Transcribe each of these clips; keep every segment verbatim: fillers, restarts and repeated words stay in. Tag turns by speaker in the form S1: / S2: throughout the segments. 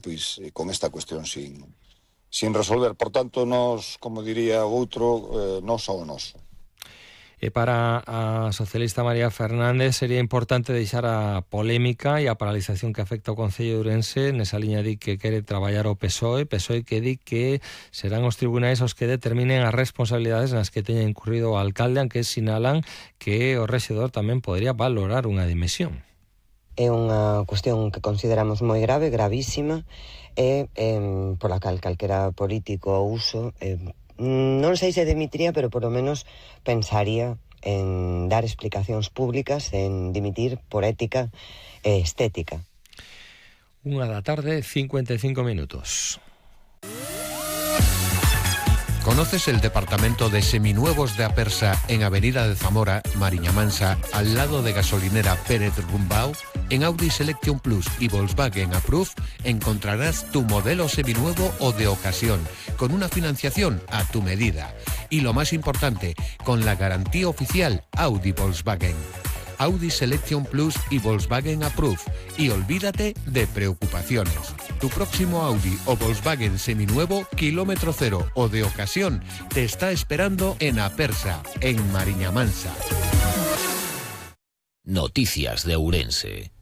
S1: pois, con esta cuestión sin, sin resolver. Por tanto, nos, como diría outro, eh, nos ao noso.
S2: E para a socialista María Fernández sería importante deixar a polémica e a paralización que afecta ao Concello de Ourense. Nesa liña di que quere traballar o P S O E, P S O E que di que serán os tribunais os que determinen as responsabilidades nas que teña incurrido o alcalde, aunque sinalan que o rexedor tamén podría valorar unha dimisión.
S3: É unha cuestión que consideramos moi grave, gravísima, e eh, pola cal calquera político ou uso, eh, non sei se dimitiría, pero por lo menos pensaría en dar explicacións públicas, en dimitir por ética e estética.
S2: Unha da tarde, cincuenta y cinco minutos.
S4: ¿Conoces el departamento de seminuevos de Apersa en Avenida de Zamora, Mariña Mansa, al lado de gasolinera Pérez Rumbao? En Audi Selection Plus y Volkswagen Approve encontrarás tu modelo seminuevo o de ocasión, con una financiación a tu medida. Y lo más importante, con la garantía oficial Audi Volkswagen. Audi Selection Plus y Volkswagen Approve. Y olvídate de preocupaciones. Tu próximo Audi o Volkswagen seminuevo, kilómetro cero o de ocasión, te está esperando en Apersa, en Mariña Mansa.
S5: Noticias de Ourense,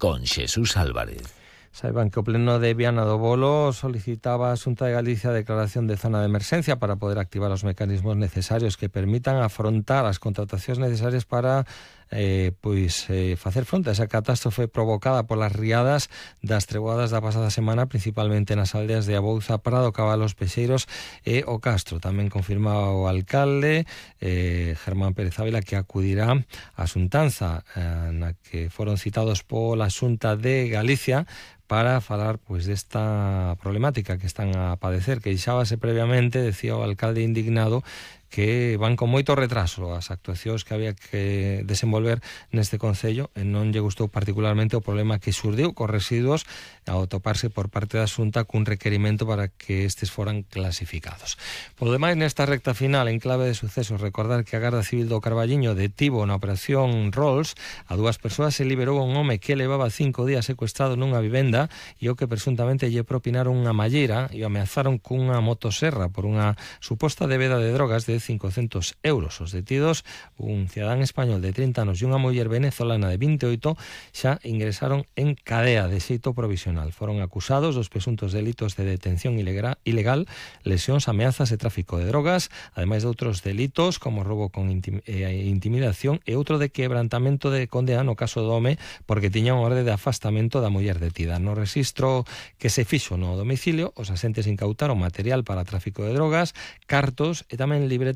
S5: con Xesús Álvarez.
S2: Saiban que o Pleno de Viana do Bolo solicitaba a Xunta de Galicia a declaración de zona de emerxencia para poder activar os mecanismos necesarios que permitan afrontar as contratacións necesarias para eh, pois eh, facer fronte a esa catástrofe provocada polas riadas das treboadas da pasada semana, principalmente nas aldeas de Abouza, Prado, Cabalos, Pexeiros e o Castro. Tamén confirmaba o alcalde eh, Germán Pérez Ávila que acudirá á xuntanza eh, na que foron citados pola Xunta de Galicia para falar pois desta problemática que están a padecer, que deixábase previamente, decía o alcalde indignado, que van con moito retraso as actuacións que había que desenvolver neste concello e non lle gustou particularmente o problema que xurdiu cos residuos ao toparse por parte da Xunta cun requerimento para que estes foran clasificados. Por demais, nesta recta final, en clave de sucesos, recordar que a Garda Civil do Carballiño detivo na operación Rolls a dúas persoas e liberou a un home que levaba cinco días secuestrado nunha vivenda e o que presuntamente lle propinaron unha malleira e o ameazaron cunha motoserra por unha suposta débeda de drogas de cincocentos euros. Os detidos, un cidadán español de trinta anos e unha muller venezolana de vinte e oito, xa ingresaron en cadea de xeito provisional. Foron acusados dos presuntos delitos de detención ilegal, lesións, ameazas e tráfico de drogas, ademais de outros delitos como roubo con intim eh, intimidación e outro de quebrantamento de condena no caso do home porque tiña unha orde de afastamento da muller detida. No rexistro que se fixo no domicilio, os asentes incautaron material para tráfico de drogas, cartos e tamén libretas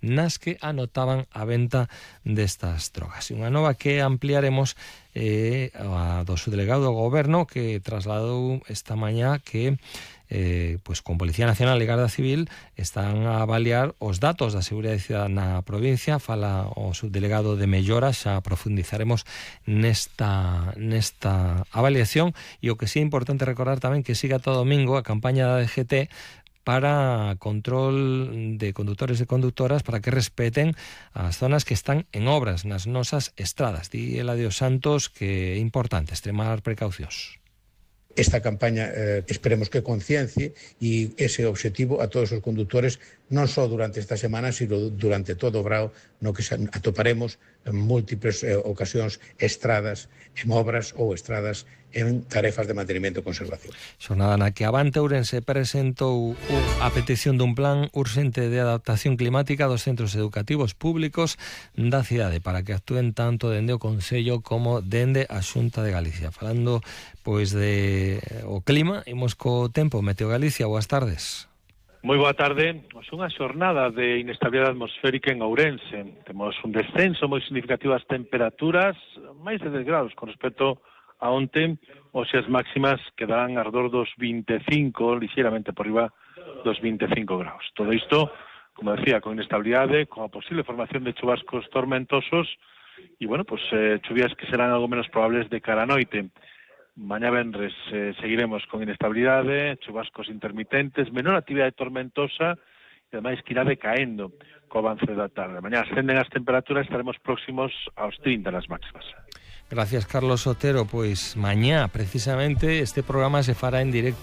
S2: nas que anotaban a venta destas drogas. E unha nova que ampliaremos eh, a do subdelegado do Goberno que trasladou esta mañá que eh, pues con Policía Nacional e Garda Civil están a avaliar os datos da seguridade cidadana na provincia. Fala o subdelegado de Mellora, xa profundizaremos nesta, nesta avaliación. E o que sí é importante recordar tamén que siga todo domingo a campaña da D G T para control de condutores e conductoras para que respeten as zonas que están en obras nas nosas estradas. Di Eladio Santos que é importante extremar precaucións.
S6: Esta campaña eh, esperemos que conciencie e ese objetivo a todos os conductores non só durante esta semana, sino durante todo o brao no que atoparemos en múltiples eh, ocasións estradas en obras ou estradas en tarefas de mantenimento e conservación.
S2: Xornada na que Avante Ourense presentou a petición dun plan urxente de adaptación climática dos centros educativos públicos da cidade para que actúen tanto dende o Concello como dende a Xunta de Galicia. Falando pois de o clima, imos co tempo. Meteo Galicia, boas tardes.
S7: Moi boa tarde. Pois unha xornada de inestabilidade atmosférica en Ourense. Temos un descenso moi significativo das temperaturas, máis de dez graus con respecto a onte, hoxe as máximas quedarán alrededor dos vinte e cinco, lixeiramente por riba dos vinte e cinco graus. Todo isto, como decía, con inestabilidade, con a posible formación de chubascos tormentosos e, bueno, pues eh, chuvias que serán algo menos probables de cara a noite. Mañá venres eh, seguiremos con inestabilidade, chubascos intermitentes, menor actividade tormentosa e ademais que irá decaendo co avance da tarde. Mañá ascenden as temperaturas, estaremos próximos aos trinta nas máximas.
S2: Gracias, Carlos Otero. Pois mañá, precisamente, este programa se fará en directo